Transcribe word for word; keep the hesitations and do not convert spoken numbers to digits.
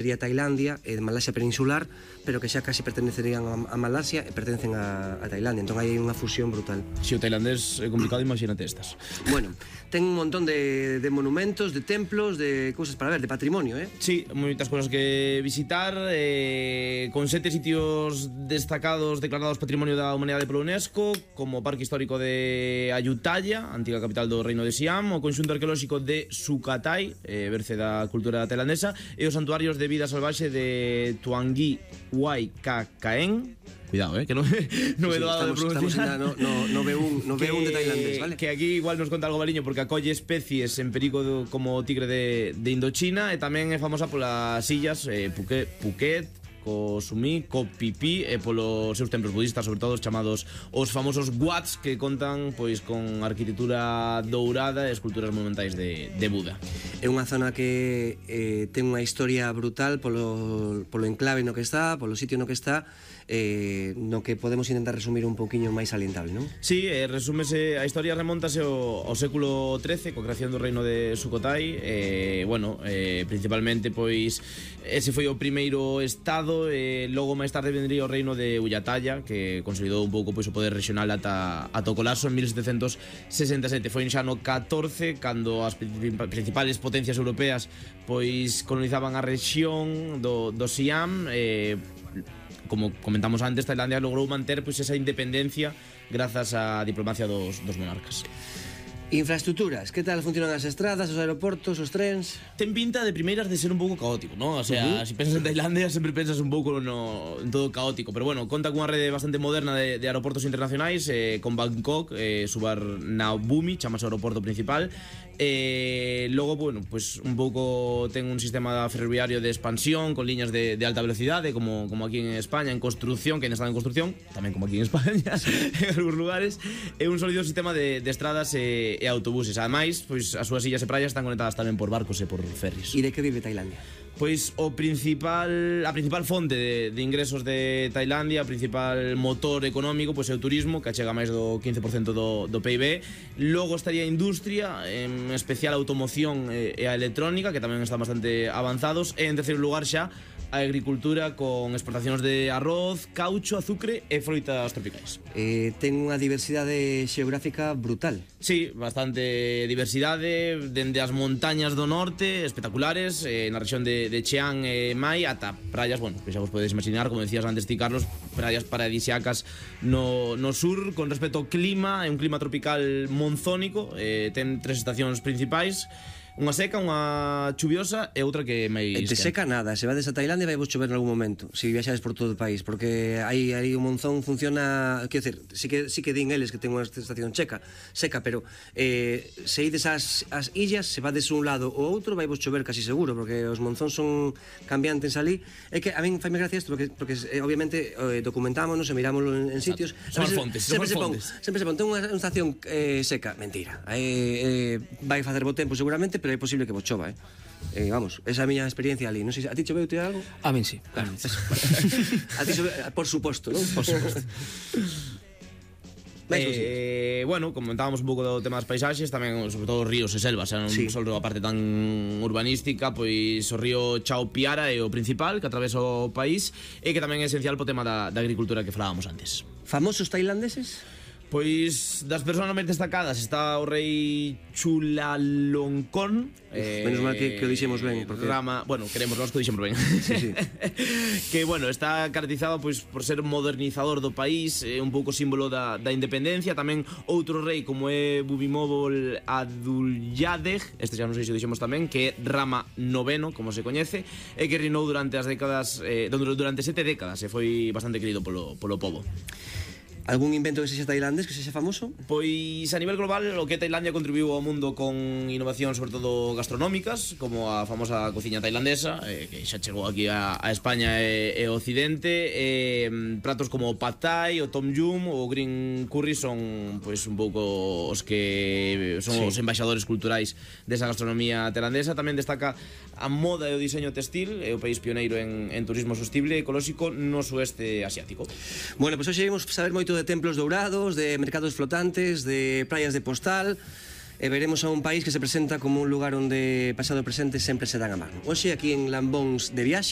sería Tailandia e de Malasia peninsular, pero que xa casi pertenecerían a, a Malasia e pertencen a, a Tailandia. Entón hai unha fusión brutal. Se o tailandés é complicado, imagínate estas. Bueno, ten un montón de, de monumentos, de templos, de cousas para ver, de patrimonio, eh? Sí, moitas cousas que visitar, eh, con sete sitios destacados declarados Patrimonio da Humanidade pola UNESCO, como o Parque Histórico de Ayutthaya, antiga capital do Reino de Siam, o Conxunto Arqueolóxico de Sukhothai, eh, berce da cultura tailandesa, e os santuarios de vida salvaxe de Tuangi Huay Kakaeng. Cuidado, eh, que non no sí, é doado de pronunciar. Estamos no, no, no B un, no B un de tailandés, vale? Que aquí igual nos conta algo baliño porque acolle especies en perigo do, como o tigre de, de Indochina, e tamén é famosa polas illas eh, Phuket, Phuket, co Sumi, co Phi e polos seus templos budistas, sobre todo os chamados os famosos Wats, que contan pois con arquitectura dourada e esculturas monumentais de, de Buda. É unha zona que eh, ten unha historia brutal polo, polo enclave no que está, polo sitio no que está, eh, no que podemos intentar resumir un pouquiño máis salientable, non? Sí, eh, resúmese, a historia remontase ao, ao século trece, coa creación do reino de Sukhothai, e, eh, bueno, eh, principalmente, pois, ese foi o primeiro estado, e logo máis tarde vendría o reino de Ayutthaya, que consolidou un pouco, pois, o poder regional ata, ata o colapso en mil setecentos sesenta e sete. Foi xa no catorce, cando as principales potencias europeas, pois, colonizaban a rexión do, do Siam, e... como comentamos antes, Tailandia logrou manter pois, esa independencia grazas á diplomacia dos, dos monarcas. Infraestructuras, que tal funcionan as estradas, os aeroportos, os trens? Ten pinta de primeiras de ser un pouco caótico, ¿no? O sea, uh -huh. si pensas en Tailandia sempre pensas un pouco no, en todo caótico, pero bueno, conta cunha rede bastante moderna de, de aeroportos internacionais, eh, con Bangkok, eh, Suvarnabhumi, chamase o aeroporto principal. Eh, logo, bueno, pues un pouco ten un sistema ferroviario de expansión con liñas de, de alta velocidade, como, como aquí en España, en construcción, que ainda está en construcción, tamén como aquí en España, sí. En algúns lugares, e un sólido sistema de, de estradas e, e autobuses. Ademais, pois as súas illas e praias están conectadas tamén por barcos e por ferries. E de que vive Tailandia? Pois o principal, a principal fonte de, de ingresos de Tailandia, o principal motor económico, pois é o turismo, que achega máis do quince por cento do, do P I B. Logo estaría a industria, en especial a automoción e, e a electrónica, que tamén están bastante avanzados. E en terceiro lugar xa a agricultura, con exportacións de arroz, caucho, azucre e froitas tropicais. Eh, ten unha diversidade xeográfica brutal. Sí, bastante diversidade, dende as montañas do norte, espectaculares, eh, na rexión de, de Chiang e Mai, ata praias, bueno, que xa vos podedes imaginar, como decías antes ti, Carlos, praias paradisíacas no, no sur. Con respecto ao clima, é un clima tropical monzónico, eh, ten tres estacións principais, unha seca, unha chuviosa e outra que máis... E te seca nada, se vades a Tailandia vai vos chover en algún momento, se viaxades por todo o país, porque aí, aí o monzón funciona, quero dizer, sí que, sí que din eles que ten unha estación checa, seca, pero eh, se ides ás, ás illas, se vades un lado ou outro, vai vos chover casi seguro, porque os monzóns son cambiantes ali. É que a min faime gracia isto, porque, porque eh, obviamente eh, documentámonos e mirámoslo en, en sitios. Son as fontes, son as fontes. Sempre se pon, ten unha estación eh, seca, mentira, eh, eh, vai facer bo tempo seguramente, pero é posible que vos chova, eh? Eh, vamos, esa é a miña experiencia ali. Non sei, a ti choveu te algo? A min sí. Claro. A ti chove, por suposto, non? Por suposto. Eh, bueno, comentábamos un pouco do tema das paisaxes, tamén sobre todo os ríos e selvas, non sí. Só a parte tan urbanística, pois o río Chao Phraya é o principal que atravesa o país e que tamén é esencial po tema da, da agricultura que falábamos antes. Famosos tailandeses? Pois das persoas máis destacadas está o rei Chulalongkorn. Eh, menos mal que, que o dixemos ben, porque Rama, bueno, queremos nós que o dixemos ben. Sí, sí. Que bueno, está caracterizado pois por ser modernizador do país, é un pouco símbolo da, da independencia. Tamén outro rei como é Bhumibol Adulyadej, este xa non sei se o dixemos tamén, que é Rama noveno, como se coñece, e que reinou durante as décadas eh, durante sete décadas e foi bastante querido polo, polo pobo. Algún invento que sexa tailandés, que sexa famoso? Pois a nivel global o que Tailandia contribuiu ao mundo con innovacións sobre todo gastronómicas, como a famosa cociña tailandesa, eh, que xa chegou aquí a, a España e, e Occidente, eh, pratos como o Pad Thai, o Tom Yum, o Green Curry son pois un pouco os que son sí. os embaixadores culturais desa gastronomía tailandesa. Tamén destaca a moda e o diseño textil, é o país pioneiro en, en turismo sostible e ecolóxico no sueste asiático. Bueno, pois pues hoxe vimos saber moito de templos dourados, de mercados flotantes, de praias de postal. e veremos a un país que se presenta como un lugar onde pasado e presente sempre se dan a mano. Hoxe aquí en Lambóns de viaxe